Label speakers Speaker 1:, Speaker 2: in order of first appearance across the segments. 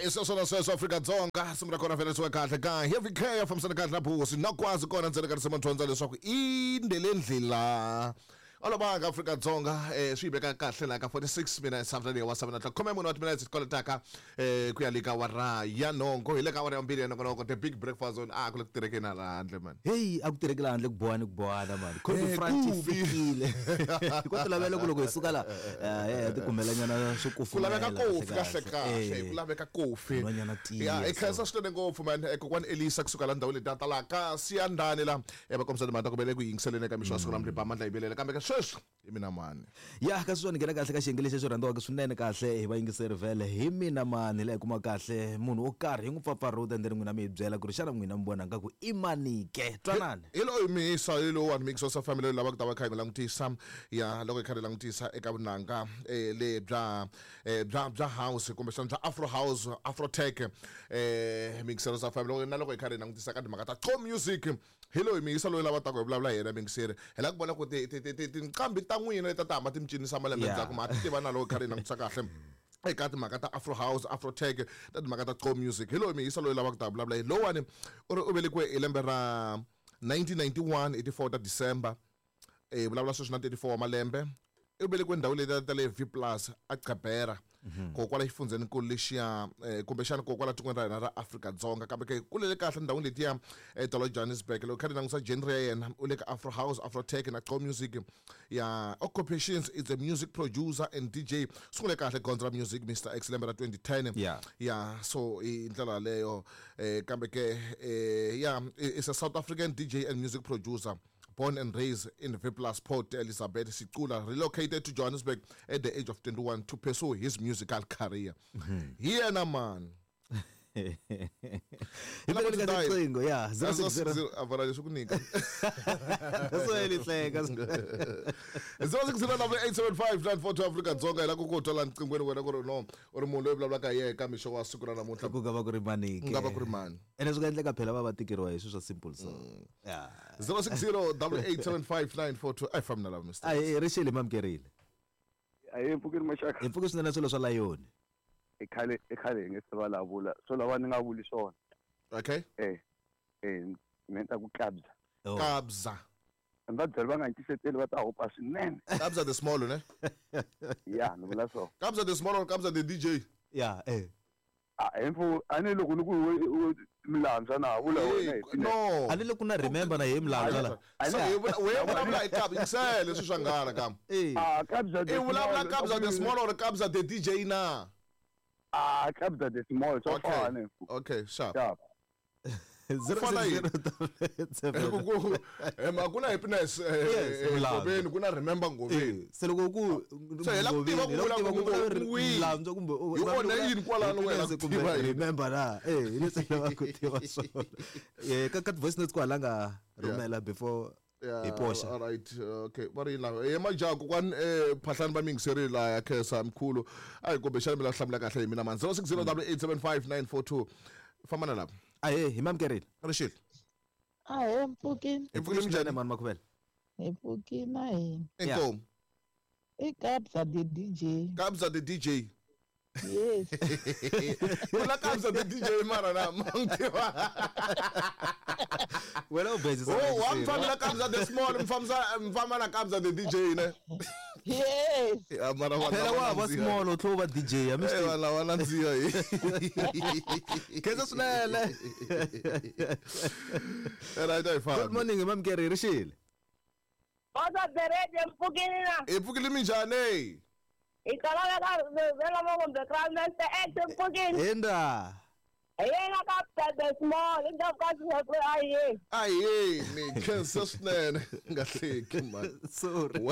Speaker 1: I sweswo na sweswo Afrika-Dzonga simu ra kona velesiwe kahle ka Heavy K ya fambisana kahle na Busi na kwazi kona ndzeni ka risimu dyondza leswaku i ndele ndlela olovanga Afrika-Dzonga swi yi veka kahle laha ka 46 minutes after the hour 7 o'clock khume mune wa timinetse ti koletaka ku ya le ka awara ya nhongo hi le ka awara ya vumbirhi ya nongonoko the big breakfast zone a ku le ku tirhekeni hala handle man.
Speaker 2: Heyi a ku tirheki laha handle ku bohana ku bohana mani cold
Speaker 1: Eh,
Speaker 2: front yi
Speaker 1: kubi.
Speaker 2: fikile ko ti lavela ku loko hi suka la ya ti kumelanyana swo
Speaker 1: Ku laveka
Speaker 2: kufumela
Speaker 1: kofi kahle kahle ku laveka kofi.
Speaker 2: Nhwanyana tiya,
Speaker 1: Ya i khensa
Speaker 2: so.
Speaker 1: swinene ngopfu man. Kokwani Elisa kusuka la ndhawini leti ta laha ka Siyandhani la va kombisa timhaka ta ku ve le ku yingiseleni eka mixo wa siku namuntlha ba mandla yivelela kambe ka sweswi hi mina mani.
Speaker 2: Ya kasi swona nghena kahle ka xiyenge lexi xo rhandziwaka swinene kahle hi vayingiseri vhele hi mina mani laha hi kuma kahle munhu wo karhi hi n'wi pfapfarhuta and then n'wina mi hi byela ku ri xana n'wina mi vona nga ku i mani ke twanani.
Speaker 1: Hi loyi misa hi lowuwani mixo sa family lava ku ta va kha hi n'wi langutisa ya loko hi kha hi langutisa eka vunanga le bya bya house kumbexana bya afro house afro tech mixero sa family na loko hi kha hi langutisa ka timhaka ta co music hi loyi miyisa loyi lava taka hi vulavula hi yena mixeri hi lava ku vona ku tinqambi ta n'wina leti ta hamba ti mi cinisa malembe ndzhaku ma ti tiva na loko hi kha hi langutisa kahle eka timhaka ta afro house afro tech ta timhaka ta co music hi loyi miyisa loyi lavaka ta vulavula hi lowani u ri u velekiwe hi lembe ra 1991 hi ti 4 ta December vulavula sweswi na 34 wa malembe u velekiwe ndhawu leyi ta le V plus a Gqeberha ko kwala xifundzhenikulu lexiya kumbexana ko kwala tikweni ra hina ra Afrika-Dzonga kambe ke kulele kahle ndhawini letiya ta le Johannesburg loko kha ni langusa genre ya yena u le ka afro house afro tech na co music ya occupations is a music producer and DJ sungule kahle gondzo ra music Mr X lembe ra 2010 ya so hi ndlela yaleyo kambe ke ya is a South African DJ and music producer born and raised in V plus Port Elizabeth Sicula relocated to Johannesburg at the age of 21 to pursue his musical career. Hi yena man.
Speaker 2: Hi vele ka riqingho ya 060
Speaker 1: a vona leswi ku nyika.
Speaker 2: So eli hleka
Speaker 1: 06087594 Afrika Dzonga hi la ku ku twa la nqinghweni wena ku ri no u ri munhu loyi vulavulaka hi yena eka mixo wa siku ra namuntlha.
Speaker 2: Ku nga va ku ri mani ke?
Speaker 1: Ku nga va ku ri mani?
Speaker 2: Ene swi nga endleka phela va va tikeriwa hi swilo swa simple so. Ya.
Speaker 1: 0608875942 a hi fambi na lava Mr.
Speaker 2: A hi ri xile mamukerile.
Speaker 3: A hi pfukile maxaka.
Speaker 2: Hi pfuke swinene swilo swa layoni.
Speaker 3: I khale i khale hi nge se vulavula swo lava ni nga vuli swona.
Speaker 1: Okay.
Speaker 3: Me ni ta ku Kabza.
Speaker 1: Kabza.
Speaker 3: Va byela va nga ni tiseteli va ta hopa swinene.
Speaker 1: Kabza the small ne?
Speaker 3: Ya ni vula so.
Speaker 1: Kabza the small or Kabza the DJ?
Speaker 2: Ya eh.
Speaker 3: A hi mfu a ni loko ni ku milandzwa na vula wena hi
Speaker 1: No.
Speaker 2: A ni le ku na remember na hi milandzwa la.
Speaker 1: So hi we vulavula hi Kabza yingisele leswi swa nghala kam.
Speaker 3: Ah Kabza the
Speaker 1: I vulavula Kabza the small or Kabza the DJ na?
Speaker 3: Ah Kabza the small so fana.
Speaker 1: Okay, sharp.
Speaker 3: Sharp.
Speaker 1: Fana yini? Ku na happiness Ngoveni ku na remember Ngoveni.
Speaker 2: Se loko ku
Speaker 1: Se hi la ku tiva ku vula ku
Speaker 2: Milandzwa kumbe
Speaker 1: Hi onhe yini kwalano wena ku
Speaker 2: kumbe
Speaker 1: tiva yini?
Speaker 2: remember na hi leswi lava ku tiva swona. Ka voice notes kwala nga rhumela before hi poxa.
Speaker 1: All right, okay. Va ri yini lava? Majaha kokwani phahlani va mingiserile laha ya khensa mkhulu. A hi kumbexana mi la hlamula kahle hi mina mani. 0608875942. Famba na lava.
Speaker 2: Ahee, hi mamukerile.
Speaker 1: Rixile.
Speaker 4: Ahee, mpfukini.
Speaker 1: Hi pfukile minjhani
Speaker 2: mani Makhuvela?
Speaker 4: Hi pfukile na hina.
Speaker 1: Inkomu.
Speaker 4: I Kabza the DJ.
Speaker 1: Kabza the DJ.
Speaker 4: Yes.
Speaker 1: Ku na Kabza the DJ mara na mangtiva.
Speaker 2: Wena u busy.
Speaker 1: Oh, wa mfamba na Kabza the small, mfamba na Kabza the DJ ne.
Speaker 4: Yes.
Speaker 1: Ya mara wa
Speaker 2: Phela wa va small u tlhela u va DJ ya mi
Speaker 1: Eh wala wala ndziya hi.
Speaker 2: Khensa swinene.
Speaker 1: Right, I
Speaker 2: Good morning mamukeri rixile.
Speaker 5: Kodwa berede mpfukile na.
Speaker 1: Hi pfukile minjhani?
Speaker 5: Hi tolaka vela mo kumbe Crown Master X mpfukile.
Speaker 2: Hinda.
Speaker 5: Hi yena Kabza the small i ndhawu ka sweswo aye.
Speaker 1: Aye, ni khensa swinene nga hleki man.
Speaker 2: Sorry.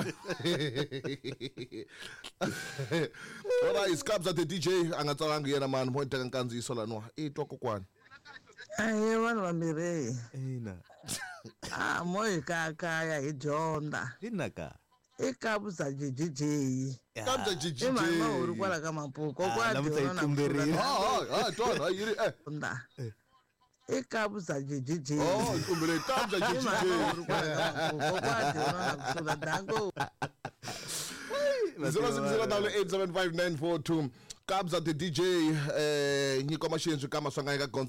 Speaker 1: Ora is Kabza the DJ a nga tsalangi yena man mo teka nkandziyiso laniwa. I twa kokwani.
Speaker 4: Ahee vanhu vambirhi.
Speaker 2: Ina.
Speaker 4: A mo hi kaya hi dyondza.
Speaker 2: Ina ka.
Speaker 4: I Kabza GGJ.
Speaker 1: Kabza GGJ.
Speaker 4: I mhani mahuru kwala ka Mapuku.
Speaker 2: Ah, namuntlha yi tumberile.
Speaker 1: Ha twana yi ri eh.
Speaker 4: I Kabza GGJ.
Speaker 1: Oh, yi tumberile Kabza
Speaker 4: I
Speaker 1: GGJ.
Speaker 4: mhani mahuru kwala ka Mapuku. Kokwana dyona na ku hlula danko.
Speaker 1: 0608875942. Kabza the DJ, nyiko maxinzi ka maswanganyi ka gondzo.